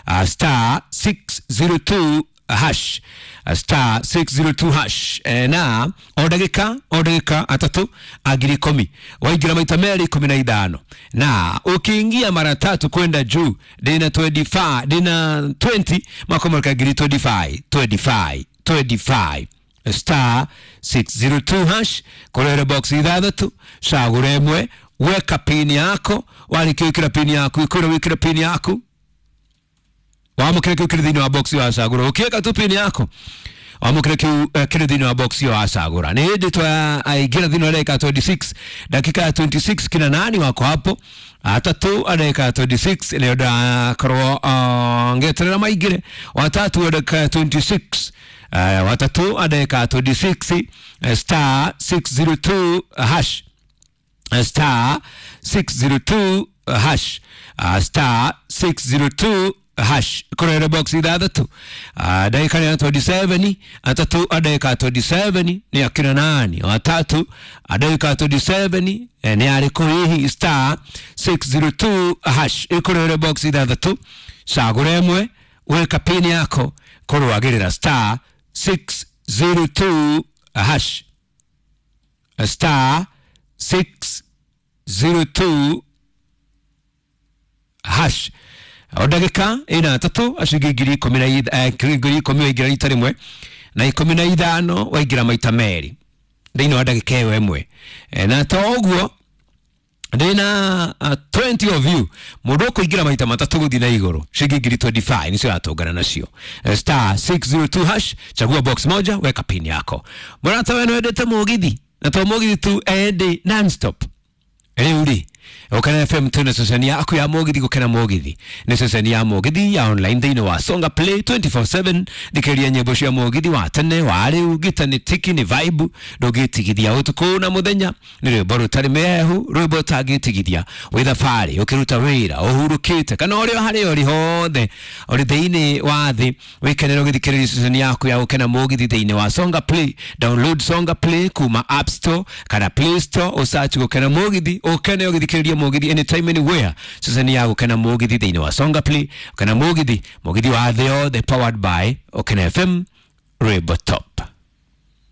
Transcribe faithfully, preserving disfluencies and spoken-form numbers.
uh, star six zero two hash, star six zero two hash. E, na o ndagĩka o ndagĩka atatu ngiri ikũmi waingĩra maita merĩ ikũmi na ithano, na ukiingia mara tatu kwenda juu ndina twenty-five, ndina twenty makomoreka ngiri twenty-five twenty-five twenty-five star six zero two hash kũrere box ithathatũ cagũra ĩmwe weka pin yako warĩkia wĩkĩra pin yaku ikwĩra wĩkĩre pin yaku wamũkĩre kĩu kĩrĩ thĩinĩ wa box wacagũra ũkĩweka tu pin yako wamũkĩre kĩu kĩrĩ thĩinĩ wa box wacagũra. Nĩ hĩndĩ twaingĩra thĩinĩ wa dakika twenty-six dakika ya twenty-six kina nani wako hapo atatu dakika twenty-six nĩyo ndakorwo ngeterera maingĩre watatu dakika twenty-six Uh, watatu dakika twenty-six star six zero two hash star six zero two hash uh, star six zero two hash kũrere box ithathatũ uh, ndagĩka nĩ ya twenty-seven atatu ndagĩka twenty-seven nĩ akina nani watatu ndagĩka twenty-seven nĩ arĩkũ hihi star six zero two hash ĩkũrere box ithathatũ cagũra ĩmwe weka pin yako kũrũagĩrĩra star six zero two hash star six zero two hash o ndagĩka ĩna atatũ acingi ngiri ikũmi na ngiri ikũmi waingĩra rita rĩmwe na ikũmi na ithano waingĩra maita merĩ thĩinĩ wa ndagĩka ĩyo ĩmwe. Na to ũguo ndĩna uh, twenty of you mũndũ ũkũingĩra maita matatũ gũthiĩ na igũrũ ciringi ngiri twenty-five nĩcio yatũngana nacio star six zero two hash chagua box moja weka pin yako. Mũrata we nĩwendete mũgithi na to mũgithi tu ende non-stop rĩu rĩ Gũkena F M twĩna ceceni yaku ya mũgithi. Gũkena mũgithi nĩ ceceni ya mũgithi ya online thĩinĩ wa Songa Play twenty-four seven thikĩrĩria nyĩmbo cia mũgithi wa tene wa rĩu gita nĩ tiki nĩ vibe ndũngĩtigithia ũtukũ na mũthenya nĩ rwĩmbo rũtarĩ mĩhehu rwĩmbo ũtangĩtigithia wĩ thabarĩ ũkĩruta wĩra ũhurũkĩte kana ũrĩ o harĩa ũrĩ hothe ũrĩ thĩinĩ wa thĩ wĩkenere ũgĩthikĩrĩria ceceni yaku ya Gũkena mũgithi thĩinĩ wa Songa Play. Download Songa Play kuma App Store kana Play Store ũsearch Gũkena mũgithi ũkene ũgĩthikĩrĩria mũgithi anytime anywhere ceceni ya Gũkena mũgithi thĩinĩ wa Songa Play. Gũkena mũgithi mũgithi wa thĩ yothe powered by Gũkena F M Rwĩmbo Top.